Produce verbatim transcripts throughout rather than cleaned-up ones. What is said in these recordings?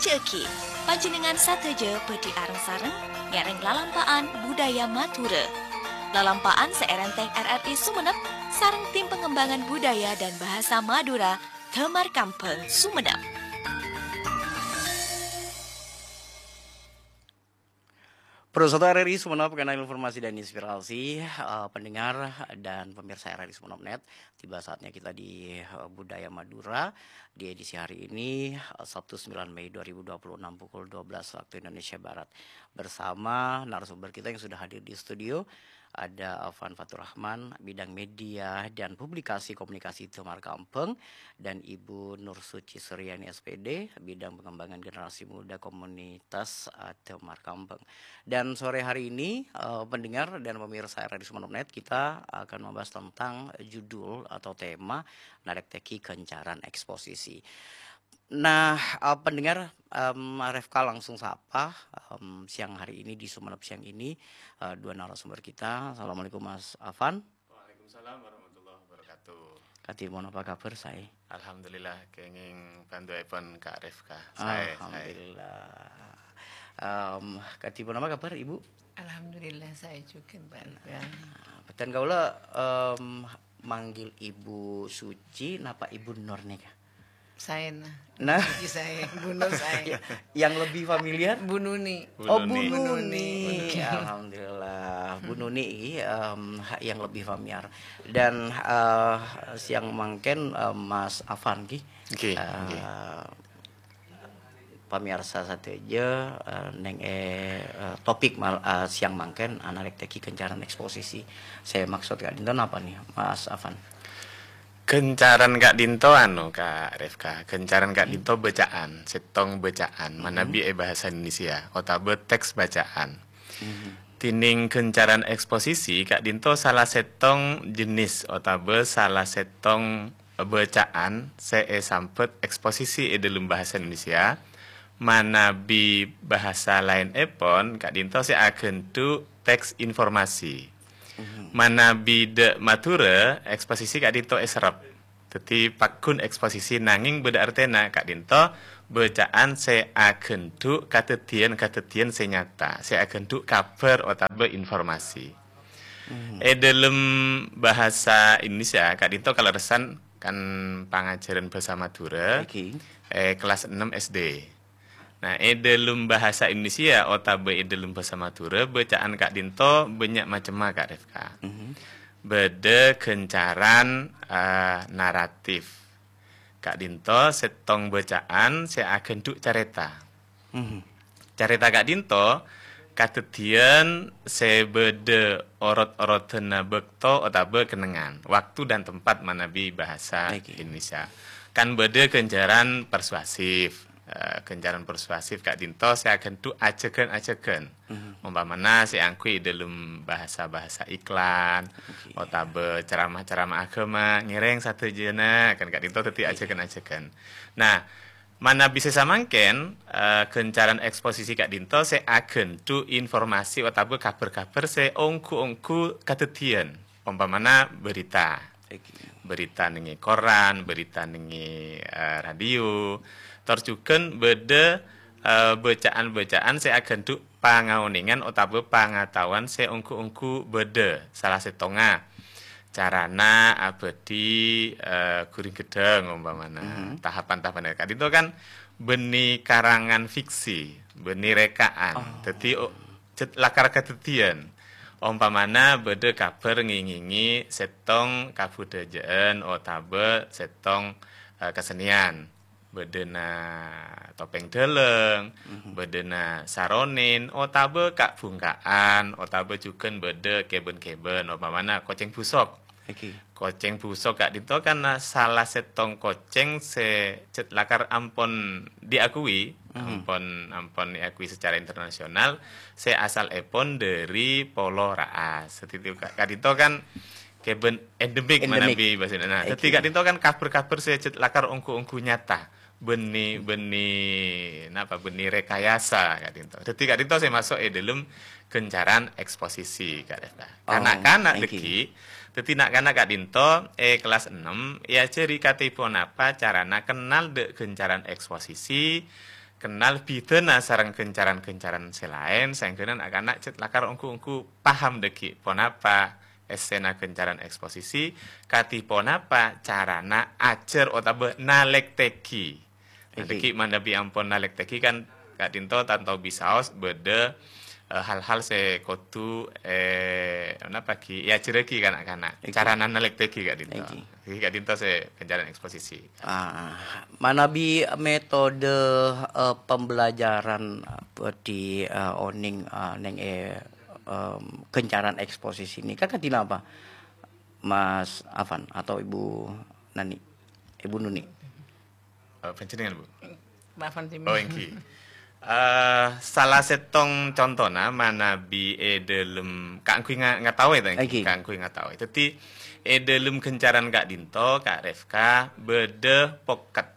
Jhâghi, panjhennengngan sadhâjâ bhâdhi areng-sareng ngèrèng lalampa'an budaya Madhurâ. Lalampa'an sè èrèntèng R R I Sumenep sareng Tim Pengembangan Budaya dan Bahasa Madura, Damar Kambhâng, Sumenep. Pemirsa R R I Sumenep, kanal informasi dan inspirasi, eh, pendengar dan pemirsa R R I Sumenep net. Tiba saatnya kita di, eh, Budaya Madura di edisi hari ini, eh, Sabtu sembilan Mei dua ribu dua puluh enam pukul dua belas waktu Indonesia Barat. Bersama narasumber kita yang sudah hadir di studio, ada Afan Faturrahman, bidang media dan publikasi komunikasi Damar Kambhâng, dan Ibu Nur Suci Suryani, S P D, bidang pengembangan generasi muda komunitas, eh, Damar Kambhâng. Dan sore hari ini, eh, pendengar dan pemirsa R R I Sumenep net, kita akan membahas tentang judul atau tema narèktèghi ghâncaran eksposisi. Nah, eh, pendengar, em, Refka langsung sapa, em, siang hari ini di Sumenep siang ini, eh, dua narasumber kita. Assalamualaikum, Mas Afan. Waalaikumsalam warahmatullahi wabarakatuh. Kadhi mon apa kabar, saè? Alhamdulillah, kenging pandu'aèpon Kak Refka. Saè, saè. Alhamdulillah. Em, kadhi mon apa kabar, Ibu? Alhamdulillah, saè jhughân, Pak Refka. Nah, bhâdhân kaulâ, em, manggil Ibu Suci, napa Ibu Nur nèka? Saè, nah. Nah. Suci saè, Bu Nur saè. Ya, yang lebih familiar? Bu Nuni. Bu Oh, Bu Nuni. Nuni. Bu Nuni. Alhamdulillah. Bu Nuni ini, em, ha-, yang lebih familiar. Dan, eh, siang mangkèn, eh, Mas Afan, ghi. Oke, Eh, oke. Pamirsa sadhâjâ, eh, neng, eh, eh, topik mal-, eh, siang mangkèn, narèktèghi ghâncaran eksposisi. Sè maksud ka'dinto napa, nè, Mas Afan? Ghâncaran ka'dinto, anu, Kak Refka. Ghâncaran ka'dinto bâca'an, sèttong bâca'an, manabi è bahasa Indonesia, otabâ teks bâca'an. Dhinèng ghâncaran eksposisi ka'dinto sala sèttong jenis otabâ sala sèttong bâca'an sè èsambhât eksposisi è dhâlem bahasa Indonesia, manabi bahasa laènèpon ka'dinto sè aghândhu' teks informasi. Manabi dhâ' Madhurâ, eksposisi ka'dinto èserrep. Dhâddhi, pagghun eksposisi nangèng bâdâ artèna ka'dinto bâca'an sè aghândhu' kadhâddhiyân-kadhâddhiyân sè nyata, sè aghândhu' kabhâr otabâ informasi. È dhâlem bahasa Indonesia ka'dinto kalerressan kan pangajhârân bhâsa Madhurâ, è kelas ennem S D. Nah, è dhâlem bahasa Indonesia otabâ è dhâlem bhâsa Madhurâ, bâca'an ka'dinto bânnya' macemma, Kak Refka. Bâdâ ghâncaran, eh, naratif. Ka'dinto sèttong bâca'an sè aghândhu' carèta. Carèta ka'dinto kadhâddhiyân sè bâdâ orot-orotanna bâkto otabâ kennengngan, waktu dan tempat manabi bahasa Indonesia. Kan bâdâ ghâncaran persuasif. Eh, ghâncaran persuasif ka'dinto sè aghândhu' ajhâghân-ajhâghân. Ompamana sè angghuy è dhâlem bahasa-bahasa iklan, otabâ ceramah-ceramah aghâma, ngèrèng sadhâjâna, kan ka'dinto dhâddhi ajhâghân-ajhâghân. Nah, manabi sè samangkèn, eh, ghâncaran eksposisi ka'dinto sè aghândhu' informasi otabâ kabhâr-kabhâr sè ongghu-ongghu kadhâddhiyân. Ompamana berita. Berita nèng è koran, berita nèng è, eh, radio. Tor jhughân bâdâ, eh, bâca'an-bâca'an sè aghândhu' pangaonèngan otabâ pangataowan sè ongghu-ongghu bâdâ. Sala sèttongnga carana abâdhi, eh, ghuring ghedhâng ompamana. Tahapan-tahapan ka'dinto kan bânnè karangan fiksi, bânnè rèka'an. Dhâddhi, o-, Cè' lakar kadhâddhiyân. Ompamana bâdâ kabhâr ngèngèngè sèttong kabudhâjâ'ân otabâ sèttong, eh, kasennèyan. Bâdâna topèng dhâlâng, bâdâna saronèn, otabâ ka'-bhungka'an, otabâ jhughân bâdâ kèbân-kèbân, ompamana kocèng busok. Kocèng busok ka'dinto kan sala sèttong kocèng sè cè' lakar ampon diakui, ampon, ampon diakui secara internasional, sè asalèpon dhâri Polo Raas. Dhâddhi ka-, ka'dinto kan kèbân endemik manabi bhâsa Indonesia. Nah, dhâddhi ka'dinto kan kabhâr-kabhâr sè cè' lakar ongghu-ongghu nyata. Bânnè, bânnè, napa, bânnè rekayasa ka'dinto. Dhâddhi ka'dinto sè maso' è dhâlem ghâncaran eksposisi, Kak Resta. Kana'-kana' dhâggi', dhâddhi na'-kana' ka'dinto è kelas ennem èajhâri katè ponapa carana kennal dhâ' ghâncaran eksposisi, kennal bidhâna sareng ghâncaran-ghâncaran sè laèn, saèngghâna na'-kana' cè' lakar ongghu-ongghu paham dhâggi' ponapa èssèna ghâncaran eksposisi, kadhi ponapa carana ajhâr otabâ nalèktèghi. Nah, Oke. dhâggi' manabi ampon nalèktèghi kan ka'dinto tanto bisaos bâdâ, eh, hal-hal sè kodhu, eh, napa ghi, èajhârraghi ka na'-kana'. Oke. Carana nalèktèghi ka'dinto. Oke. Dhâggi' ka'dinto sè ghâncaran eksposisi. Ah, manabi metode, eh, pembelajaran, eh, di, eh, onèng, eh, neng, eh, em, ghâncaran eksposisi nèka kadhi napa, Mas Afan atau Ibu Nani? Ibu Nuni? Eh, panjhennengngan, Bu? Maaf, Anti. Oh, èngghi. Eh, salah sèttong contona manabi è dhâlem, kaangghuy nga-, ngataowè ta, èngghi? Èngghi. Kaangghuy ngataowè. Dhâddhi, è dhâlem ghâncaran ka'dinto, Ka' Refka, bâdâ poket.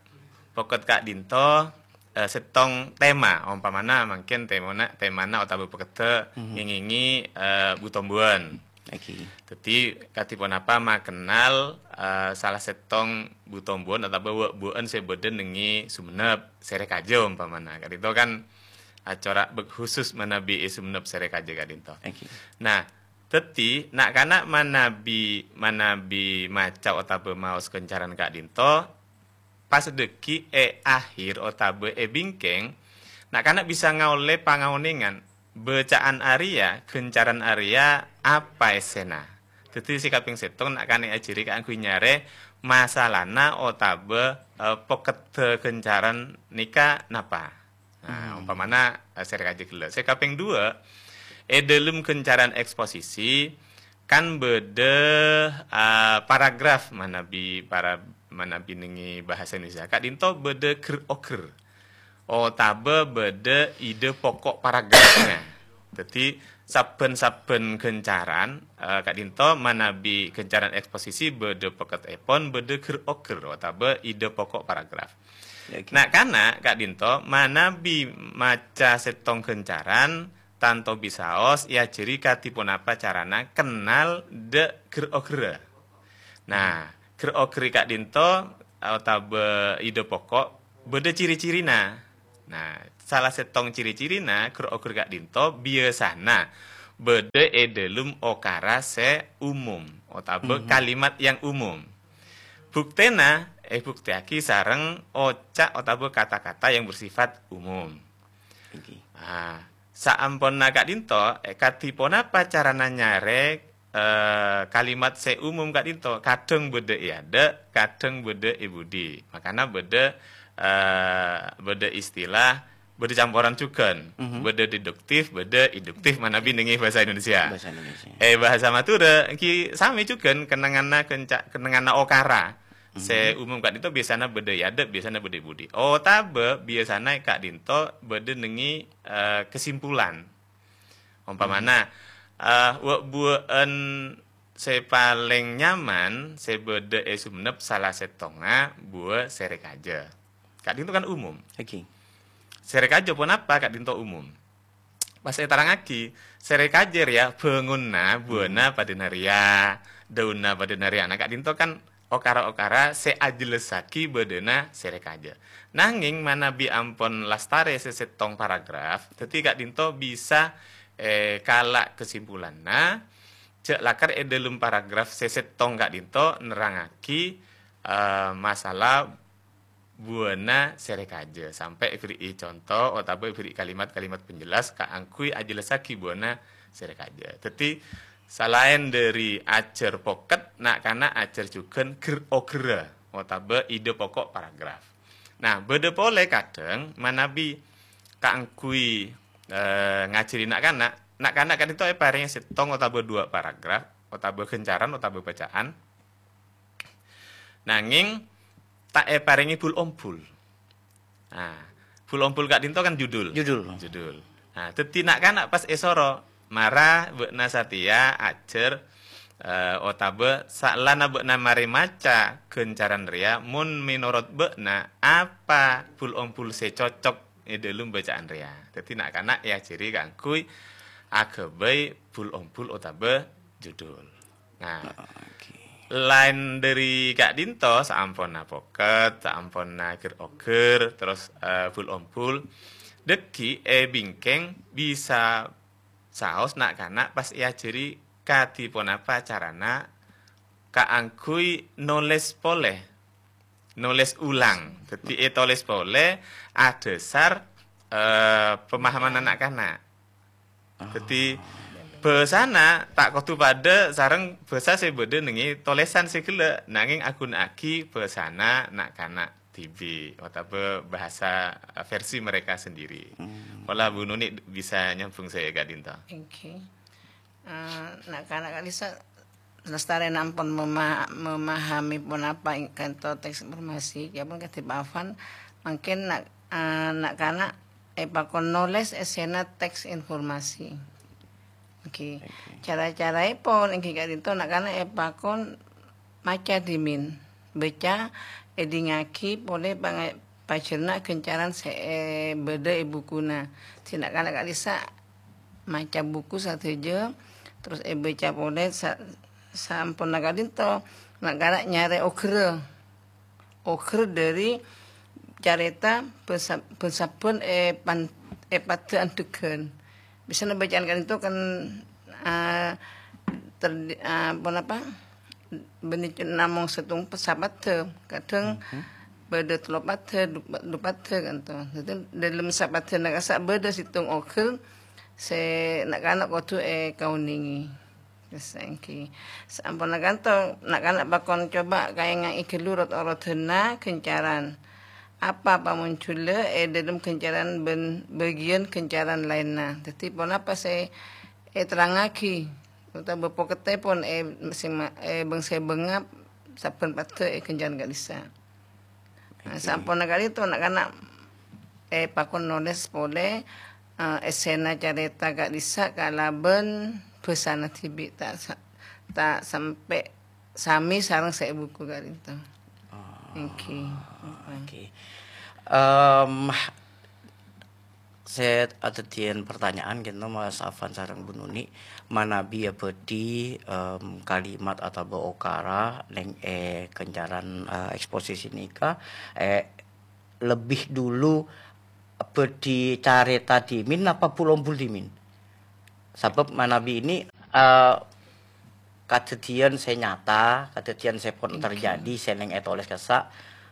Poket ka'dinto, eh, sèttong tema. Ompamana mangkèn temana, temana otabâ pokedda Mhm. ngèngèngè, eh, bu-tombuwân. Èngghi. Dhâddhi, kadhi ponapa makennal, eh, salah sèttong bu-tombuwân otabâ wâ'-buwâ'ân sè bâdâ neng è Songennep, Sèrèkajâ ompamana. Ka'dinto kan acora' bek-, khusus manabi è Songennep, Sèrèkajâ ka'dinto. Èngghi. Nah, dhâddhi na'-kana' manabi, manabi maca otabâ maos ghâncaran ka'dinto, pas dhâggi' è ahir otabâ è bingkèng, na'-kana' bisa ngaollè pangaonèngan, bâca'an arèya, ghâncaran arèya, apa èssèna. Dhâddhi sè kapèng sèttong na'-kana' èajhâri kaangghuy nyarè masalana otabâ, eh, pokedda ghâncaran nèka napa. Nah, Hmm. ompamana, eh, Sèrèkajâ ghellâ'. Sè kapèng duwâ', è dhâlem ghâncaran eksposisi, kan bâdâ, eh, paragraf manabi para-, manabi neng è bhâsa Indonesia. Ka'dinto bâdâ ghâr-oghâr. Otabâ bâdâ ide pokok paragrafnya. Dhâddhi, sabbhân-sabbhân ghâncaran, eh, ka'dinto manabi ghâncaran eksposisi bâdâ pokedèpon, bâdâ ghâr-oghâr otabâ ide pokok paragraf. Ya, oke. Na'-kana' ka'dinto manabi maca sèttong ghâncaran, tanto bisaos èajhâri kadhi ponapa carana kennal dâ' ghâr-oghârra. Nah, ghâr-oghâr ka'dinto otabâ ide pokok bâdâ ciri-cirina. Nah, salah sèttong ciri-cirina ghâr-oghâr ka'dinto biyasana bâdâ è dhâlem okara sè umum otabâ Mhm. kalimat yang umum. Buktèna èbuktèyaghi sareng oca' otabâ kata-kata yang bersifat umum. Èngghi. Ah, saamponna ka'dinto, eh, kadhi ponapa carana nyarè, eh, kalimat sè umum ka'dinto? Kadhâng bâdâ è adâ', kadhâng bâdâ è budi. Makana bâdâ, eh, bâdâ istilah, bâdâ camporan jhughân. Mhm. Bâdâ deduktif, bâdâ induktif manabi neng è bhâsa Indonesia. Bhâsa Indonesia. Eh, bhâsa Madhurâ, èngghi samè jhughân kennengnganna kenca-, kennengnganna okara. Sè Mhm. umum ka'dinto biyasana bâdâ è adâ', biyasana bâdâ è budi. Otabâ biyasana ka'dinto bâdâ neng è, eh, kesimpulan. Ompamana, Mhm. eh, wâ'-buwâ'ân sè palèng nyaman sè bâdâ è Songennep salah sèttongnga buwâ Sèrèkajâ. Ka'dinto kan umum. Èngghi. Sèrèkajâ ponapa ka'dinto umum. Pas èterrangngaghi, Sèrèkajâ rèya bângonna, buwâna Hmm. padâna rèya, dâunna padâna rèya. Nah, ka'dinto kan okara-okara sè ajhellasaghi bâdâna Sèrèkajâ. Nangèng manabi ampon lastarè sè sèttong paragraf, dhâddhi ka'dinto bisa, eh, kala' kesimpulanna, jhâ' lakar è dhâlem paragraf sè sèttong ka'dinto nerrangngaghi, eh, masalah buwâna Sèrèkajâ, sampè' èbhâri'i conto otabâ èbhâri'i kalimat-kalimat penjelas kaangghuy ajhellasaghi buwâna Sèrèkajâ. Dhâddhi, salaèn dhâri ajhâr poket, na'-kana' ajhâr jhughân ghâr-oghârra otabâ ide pokok paragraf. Nah, bâdâ polè kadhâng manabi kaangghuy, eh, ngajhâri na'-kana', na'-kana' ka'dinto èparèngè sèttong otabâ duwâ' paragraf, otabâ ghâncaran, otabâ bâca'an. Nangèng ta' èparèngè bul-ombul. Nah, bul-ombul ka'dinto kan judul. Judul. Judul. Nah, dhâddhi na'-kana' pas èsoro, mara bâ'na satèya ajhâr, eh, otabâ saellana bâ'na marè maca ghâncaran rèya, mon mènorot bâ'na, apa bul-ombul sè cocok è dhâlem bâca'an rèya. Dhâddhi na'-kana' èajhâri kaangghuy aghâbây bul-ombul otabâ judul. Nah, Oke. Laèn dhâri ka'dinto, saamponna poket, saamponna ghir-oghir, terros, eh, bul-ombul, dhâggi' è bingkèng bisa saos na'-kana' pas èajhâri kadhi ponapa carana kaangghuy nolès polè, nolès ulang. Dhâddhi ètolès polè adhâsar, eh, pemahaman na'-kana'. Dhâddhi, bhâsana ta' kodhu padâ sareng bhâsa sè bâdâ nèngè tolèsan sè ghellâ', nangèng aghuna'aghi bhâsana na'-kana' dhibi', otabâ bahasa versi mereka sendiri. Pola Bu Nuni bisa nyambung sè ka'dinto. Èngghi. Eh, na'-kana' ka'dissa' lastarè ampon mema-, memahami ponapa ing-, ka'dinto teks informasi, ya pon kadhi Pak Afan, mangkèn na'-, eh, na'-kana' èpakon nolès èssèna teks informasi. Èngghi. Oke. Cara-caraèpon èngghi ka'dinto na'-kana' èpakon maca dhimèn, bâca, èdingngaghi polè panga-, pajhârna ghâncaran sè, eh, bâdâ è bukuna. Dhâddhi na'-kana' ka'dissa' maca buku sadhâjâ, terros èbâca polè sa-, saamponna ka'dinto, na'-kana' nyarè oghârrâ. Oghâr dhâri carèta bân-, bân-sabbhân èpan-, èpadâ andhegghân. Biasana bâcaan ka'dinto kan, ah, ter-, ah, ponapa, bânnè namong sèttong sapadâ, kadhâng bâdâ tello padâ, du-, du padâ ka'dinto. Dhâddhi, dâlem sapadâna ka'issa' bâdâ sèttong oghâr sè na'-kana' kodhu èkaonèngè. Terros èngghi. Saamponna ka'dinto, na'-kana' pakon coba kaèngaè ghâllu rot-orotanna ghâncaran. Apa pamonjhulla è dâlem ghâncaran bân bâgiyân ghâncaran laènna. Dhâddhi, ponapa sè èterrangngaghi, otabâ pokettèpon è, sè ma-, è bâng-sèbângnga sabbhân padâ è ghâncaran ka'dissa'. Nah, saamponna ka'dinto, na'-kana', eh, pakon nolès polè, eh, èssèna carèta ka'dissa' kalabân bhâsana dhibi', ta' sa-, ta' sampè' samè sareng sè è buku ka'dinto. Oh, èngghi. Oke. Em, Sè adhâddhiyân partanya'an kènto, Mas Afan sareng Bu Nuni, manabi abâdhi, em, kalimat otabâ okara neng è ghâncaran, eh, eksposisi nèka, eh, lebbi dulu abâdhi carèta dhimèn napa bul-ombul dhimèn? Sabâb manabi ini, eh, kadhâddhiyân sè nyata, kadhâddhiyân sè pon terjadi, sè neng ètolès ka'issa',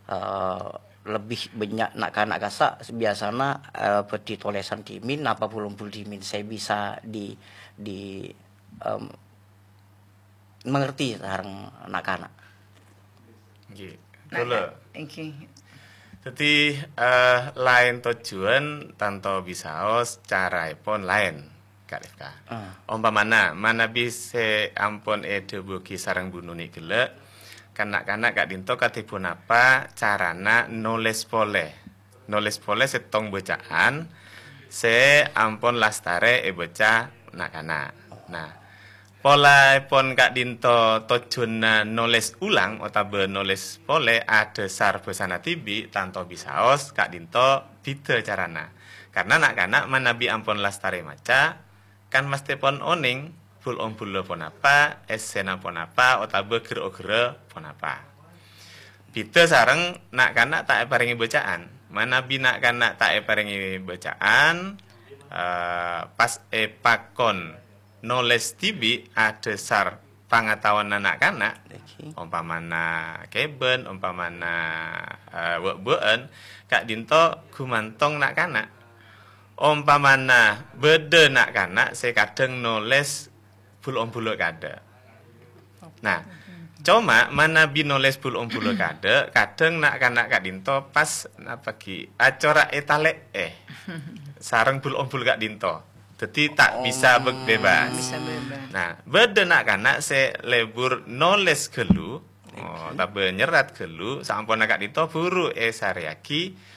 eh, lebbi bânnya' na'-kana' ka'issa' biyasana, eh, bâdhi tolèsan dhimèn napa bul-ombul dhimèn sè bisa di, di, em, mengerti sareng na'-kana'. Ngghi. Nah, kaulâ. Èngghi. Dhâddhi, eh, laèn tojjhuwân tanto bisaos caraèpon laèn, Kak Rifka. Ah. Ompamana, manabi sè ampon èdhâbuwaghi sareng Bu Nuni ghellâ', kan na'-kana' ka'dinto kadhi ponapa carana nolès polè. Nolès polè sèttong bâcaan sè ampon lastarè èbâca na'-kana'. Nah, Polaèpon ka'dinto tojjhuwânna nolès ulang otabâ nolès polè adhâsar bhâsana dhibi', tanto bisaos ka'dinto bhidhâ carana. Karna na'-kana' manabi ampon lastarè maca, kan mastèpon onèng bul-ombulla ponapa, èssèna ponapa, otabâ ghir-oghirra ponapa. Bhidhâ sareng na'-kana' ta' èparèngè bâca'an. Manabi na'-kana' ta' èparèngè bâca'an, eh, pas èpakon nolès dhibi' adhâsar pangataowanna na'-kana', ompamana kèbân, ompamana, eh, bâ'-bâ'ân, ka'dinto ghumantong na'-kana'. Ompamana bâdâ na'-kana' sè kadhâng nolès bul-ombulla kaadâ'. Nah, coma manabi nolès bul-ombulla kaadâ', kadhâng na'-kana' ka'dinto pas napa ghi' acora' ètalè'è sareng bul-ombul ka'dinto. Dhâddhi ta' bisa bè-, bebas. Bisa bebas. Nah, bâdâ na'-kana' sè lebur nolès ghâllu, oh, otabâ nyerrat ghâllu, saamponna ka'dinto buru èsarèyaghi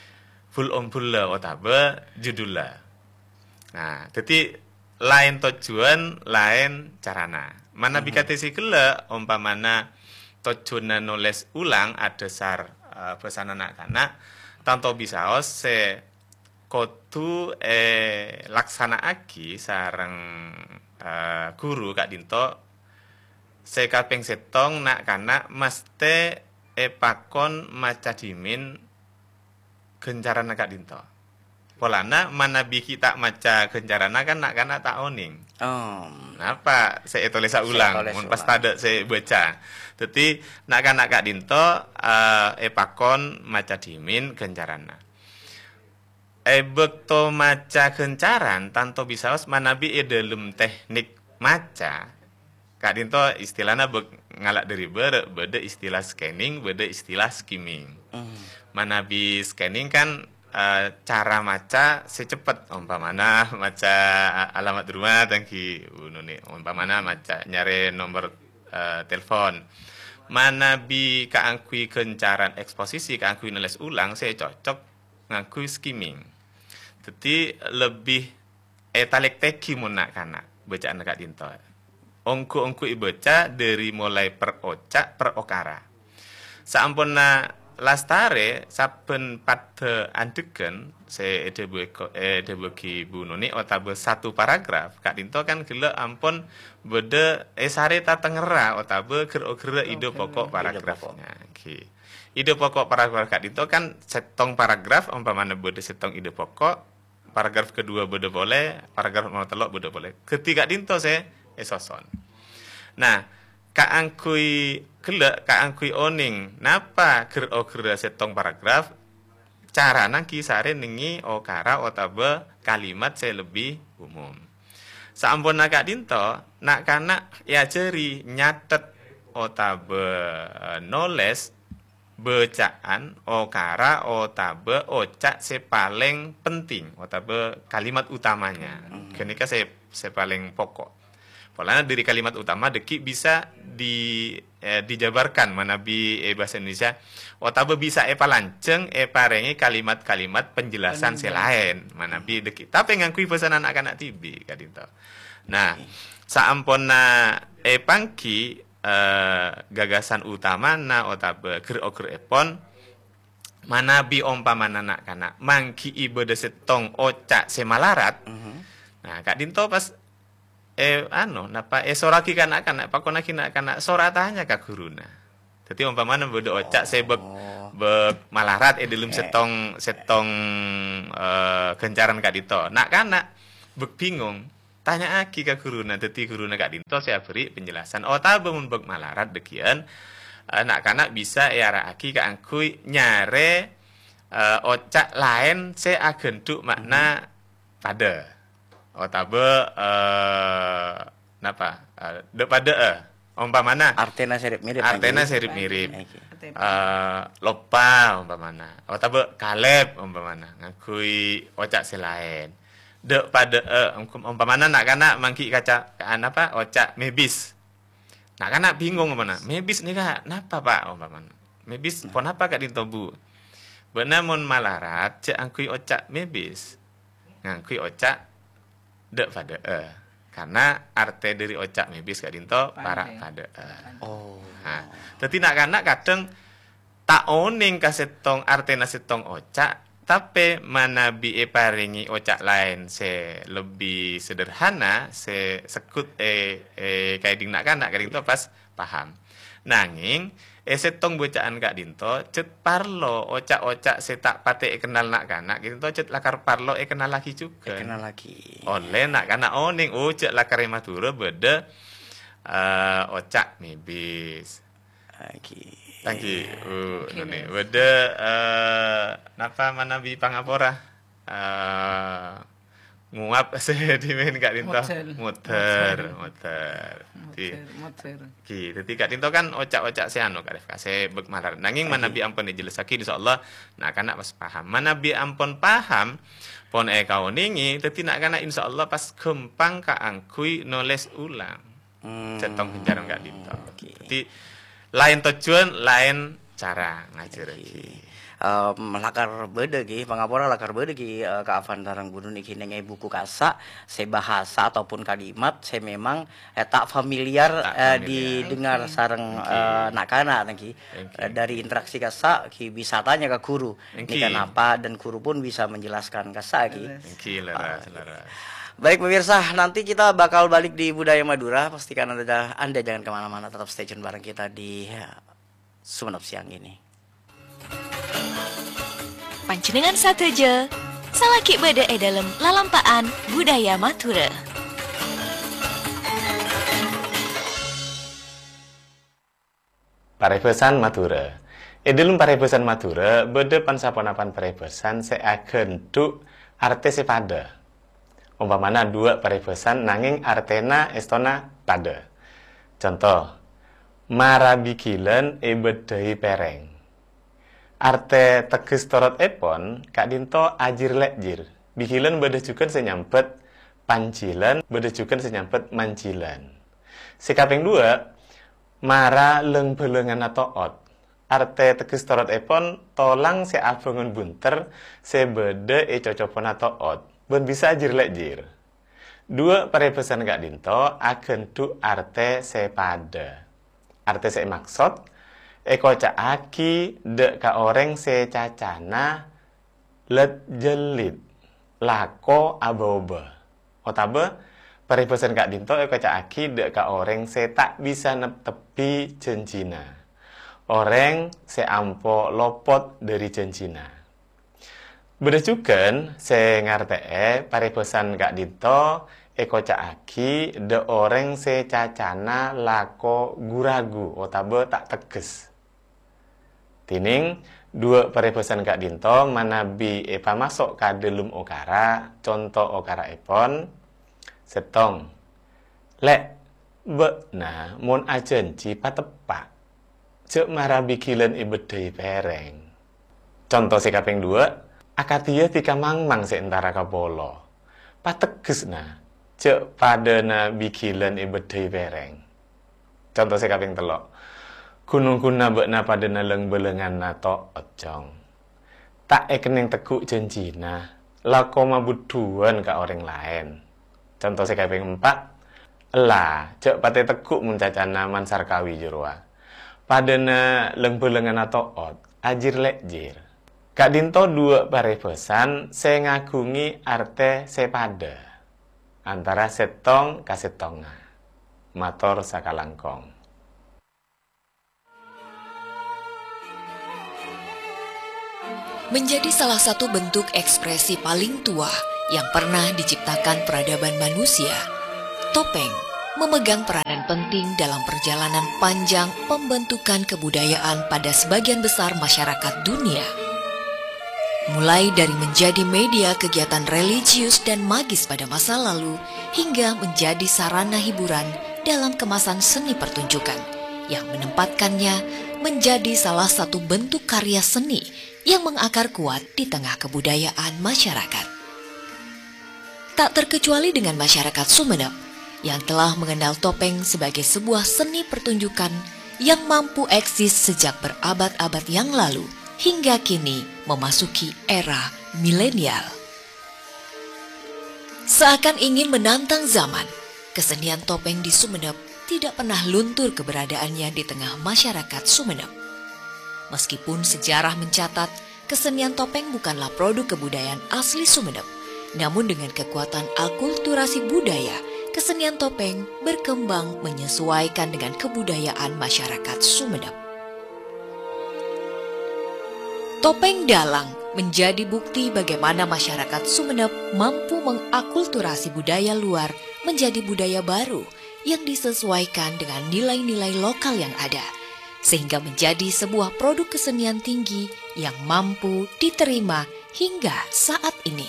bul-ombulla otabâ judulla. Nah, dhâddhi laèn tojjhuwân, laèn carana. Manabi kadhi sè ghellâ', ompamana tojjhuwânna nolès ulang adhâsar, eh, bhâsana na'-kana', tanto bisaos sè kodhu èlaksana'aghi sareng, eh, ghuru ka'dinto Sè kapèng sèttong, na'-kana' mastè èpakon maca dhimèn ghâncaranna ka'dinto. Polana manabi ghi' ta' maca ghâncaranna kan na'-kana' ta' onèng. Om. Napa sè ètolèsa Sè ulang, ètolès mon pas ulang. Tadâ' sè baca. Dhâddhi, na'-kana' ka'dinto, eh, èpakon maca dhimèn ghâncaranna. È bâkto maca ghâncaran, tanto bisaos manabi è dâlem teknik maca, ka'dinto istilana bâk-, ngala' dâri bârâ', bâdâ istilah scanning, bâdâ istilah skimming. Hmm. Manabi scanning kan, eh, cara maca sè cepet, ompamana maca alamat rumah, tanggi, bunune, ompamana maca nyarè nomor, eh, telepon. Manabi kaangghuy ghâncaran eksposisi, kaangghuy nolès ulang sè cocok, ngangghuy skimming. Dhâddhi, lebbi ètalèktèghi mon na'-kana' bâca'anna ka'dinto. Ongghu-ongghu èbâca dâri molaè per oca', per okara. Saamponna lastarè, sabbhân paddhâ andhegghân sè èdhâbuwi ko-, èdhâbuwaghi Bu Noni otabâ satu paragraf, ka'dinto kan ghellâ' ampon bâdâ èsarè tatengngerra otabâ ghâr-oghârrâ ida Oghârrâ poko' ida poko'. Paragrafnya. Ghi. Ida poko' paragraf ka'dinto kan sèttong paragraf, ompamana bâdâ sèttong ida poko', paragraf kedua bâdâ polè, paragraf nomor tello' bâdâ polè. Ghâddhi ka'dinto sè èsoson. Nah, kaangghuy ghellâ', kaangghuy onèng napa ghâr-oghârrâ sèttong paragraf, carana ghi sarè nèngè okara otabâ kalimat sè lebbi umum. Saamponna ka'dinto, na'-kana' èajhâri nyathet otabâ, eh, nolès bâca'an, okara, otabâ oca' sè palèng penting, otabâ kalimat utamanya. Hmm. Ghânèka sè, sè palèng poko'. Polana dâri kalimat utama dhâggi' bisa di-, eh, dijabarkan manabi è bhâsa Indonesia, otabâ bisa èpalanjhâng èparèngè kalimat-kalimat penjelasan sè Penjelasan. laèn manabi dhâggi'. Tapè ngangghuy bhâsana na'-kana' dhibi' ka'dinto. Nah, saamponna èpangghi, eh, gagasan utamana otabâ ghâr-oghârrâèpon, manabi ompamana na'-kana' mangghi'i bâdâ sèttong oca' sè malarat, Mhm. nah, ka'dinto pas, eh, anu, napa, èsorraghi ka na'-kana', pakonnaghi na'-kana', "Sora tanya ka ghuruna." Dhâddhi, ompamana bâdâ oca' sè bâk-, Oh. bâk malarat è dâlem Eh. sèttong, sèttong, eh, ghâncaran ka'dinto. Na'-kana' bâk bhingong. Tanya'aghi ka ghuruna, dhâddhi ghuruna ka'dinto sè abherri' penjelasan. Otabâ mon bâk malarat dhâggi'ân, eh, na'-kana' bisa èara'aghi kaangghuy nyarè, eh, oca' laèn sè aghândhu' ma'na Mhm. padâ. Otabâ, eh, napa? Eh, dhâ'-padâ'â. Ompamana Artèna sè rip-mirip, artèna kan, sè rip-mirip. Oke. Eh, loppa ompamana. Otabâ kalèp ompamana. Ngangghuy oca' sè laèn. Dhâ'-padâ'â, om-, ompamana na'-kana' mangghi' kaca-, ka-, napa, oca' mèbis. Na'-kana' bhingong, ompamana, "Mèbis nèka napa, Pak?" ompamana. "Mèbis Nah. ponapa ka'dinto, Bu?" Bâ'na mon malarat, jhâ' angghuy oca' mèbis. Ngangghuy oca' dhâ'-padâ'â. Karna artè dâri oca' mèbis ka'dinto para' Padâ. padâ'â. Oh. Nah, dhâddhi na'-kana' kadhâng ta' onèng ka sèttong artèna sèttong oca', tapè manabi èparèngè oca' laèn sè lebbi sederhana, sè segghut è, è kaèdhing na'-kana' ka'dinto pas paham. Nangèng, è sèttong bâca'an ka'dinto, jhât parlo oca'-oca' sè ta' patè èkennal na'-kana' ka'dinto, jhât lakar parlo èkennallaghi jhughân. Èkennallaghi. Ollè na'-kana' onèng, oh, jhâ' lakar è Madhurâ bâdâ, eh, oca' mèbis. Lagi. Lagi, uh, Oke, noni. Bâdâ, eh, napa manabi pangapora? Eh, nguap sè dhimèn ka'dinto. Model. Model, Model. model. Di-, Model, model. Ki, dhâddhi ka'dinto kan oca'-oca' sè anu, Kak Rifka, sè bâk malar. Nangèng Lagi. manabi ampon èjellessaghi, insyaallah, na'-kana' pas paham. Manabi ampon paham, pon èkaonèngè, dhâddhi na'-kana' insyaallah pas ghâmpang kaangghuy nolès ulang. Hmm. Sèttong ghâncaran ka'dinto. Oke. Dhâddhi, laèn tojjhuwân, laèn cara ngajhârâghi. Oke. Em, lakar bâdâ, ghi, pangapora lakar bâdâ, ghi, eh, Kak Afan sareng Bu Nuni, ghi, nèng è buku kassa' sè bhâsa ataupun kalimat sè memang, eh, ta' familiar, Ta' eh, familiar. didengar Oke. sareng, Oke. eh, na'-kana', ghi. Oke. Eh, dâri interaksi kassa', ghi, bisa tanya ka ghuru. Oke. Nèka napa, dan ghuru pun bisa menjelaskan kassa', ghi. Leres. Oke, leres, Ah, leres. Baik pemirsa, nanti kita bakal balik di Budaya Madura. Pastikan Anda, Anda jangan kemana-mana, tetap stay tune bareng kita di, ya, Sumenep siang ini. Panjhennengngan sadhâjâ, salaghi bâdâ è dhâlem lalampa'an Budaya Madhurâ. Parèbhâsan Madhurâ. È dhâlem parèbhâsan Madhurâ bâdâ pan-saponapan parèbhâsan sè aghândhu' artè sè padâ. Ompamana duwâ' parèbhâsan nangèng artèna èstona padâ. Conto, mara bighilân èbâddhâi pèrèng. Artè tegghes torotèpon ka'dinto ajir-lè'jir. Bighilân bâdâ jhughân sè nyambhât panjhilân, bâdâ jhughân sè nyambhât manjhilân. Sè kapèng duwâ', mara lâng-bhâlânganna to'ot. Artè tegghes torotèpon tolang sè abângon bhunter sè bâdâ è cocoponna to'ot, bân bisa ajir-lè'jir. Duwâ' parèbhâsan ka'dinto aghândhu' artè sè padâ. Artè sè èmaksod èkoca'aghi dâ' ka orèng sè cacana lèt-jhellit, lako abâ-obâ. Otabâ, parèbhâsan ka'dinto èkoca'aghi dâ' ka orèng sè ta' bisa neptebbhi jhânjhina. Orèng sè ampo lopot dhâri jhânjhina. Bâdâ jhughân sè ngartè'è parèbhâsan ka'dinto èkoca'aghi dâ' orèng sè cacana lako gu-ragu otabâ ta' tegghes. Dhinèng, duwâ' parèbhâsan ka'dinto manabi èpamaso' ka dhâlem okara, conto okara'èpon, sèttong. Lè', bâ'na mon ajhânjhi pateppa', jhâ' mara bighilân èbâddhâi pèrèng. Conto sè kapèng duwâ', akadhiyâ dhika mangmang sè entara ka polo. Pateggessa, jhâ' padâna bighilân èbâddhâi pèrèng. Conto sè kapèng tello', ghun-ongghunna bâ'na padâna lâng-bhâlânganna to'ot, Cong. Ta' èkennèng tegghu' jhânjhina, lako mabudhuwân ka orèng laèn. Conto sè kapèng empa', ella, jhâ' patè tegghu' mon cacana mansar kawi jârowa. Padâna lâng-bhâlânganna to'ot, ajir-lè'jir. Ka'dinto duwâ' parèbhâsan sè ngaghungè artè sè padâ, antara sèttong ka sèttongnga. Mator sakalangkong. Menjadi salah satu bentuk ekspresi paling tua yang pernah diciptakan peradaban manusia, topeng memegang peranan penting dalam perjalanan panjang pembentukan kebudayaan pada sebagian besar masyarakat dunia. Mulai dari menjadi media kegiatan religius dan magis pada masa lalu, hingga menjadi sarana hiburan dalam kemasan seni pertunjukan yang menempatkannya menjadi salah satu bentuk karya seni yang mengakar kuat di tengah kebudayaan masyarakat. Tak terkecuali dengan masyarakat Sumenep yang telah mengenal topeng sebagai sebuah seni pertunjukan yang mampu eksis sejak berabad-abad yang lalu hingga kini memasuki era milenial. Seakan ingin menantang zaman, kesenian topeng di Sumenep tidak pernah luntur keberadaannya di tengah masyarakat Sumenep. Meskipun sejarah mencatat kesenian topeng bukanlah produk kebudayaan asli Sumenep, namun dengan kekuatan akulturasi budaya, kesenian topeng berkembang menyesuaikan dengan kebudayaan masyarakat Sumenep. Topeng Dalang menjadi bukti bagaimana masyarakat Sumenep mampu mengakulturasi budaya luar menjadi budaya baru yang disesuaikan dengan nilai-nilai lokal yang ada, sehingga menjadi sebuah produk kesenian tinggi yang mampu diterima hingga saat ini.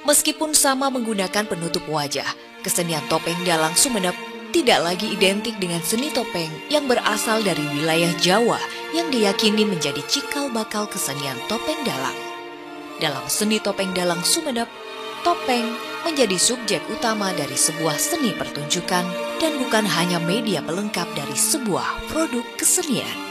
Meskipun sama menggunakan penutup wajah, kesenian topeng dalang Sumenep tidak lagi identik dengan seni topeng yang berasal dari wilayah Jawa yang diyakini menjadi cikal bakal kesenian topeng dalang. Dalam seni topeng dalang Sumenep, topeng menjadi subjek utama dari sebuah seni pertunjukan dan bukan hanya media pelengkap dari sebuah produk kesenian.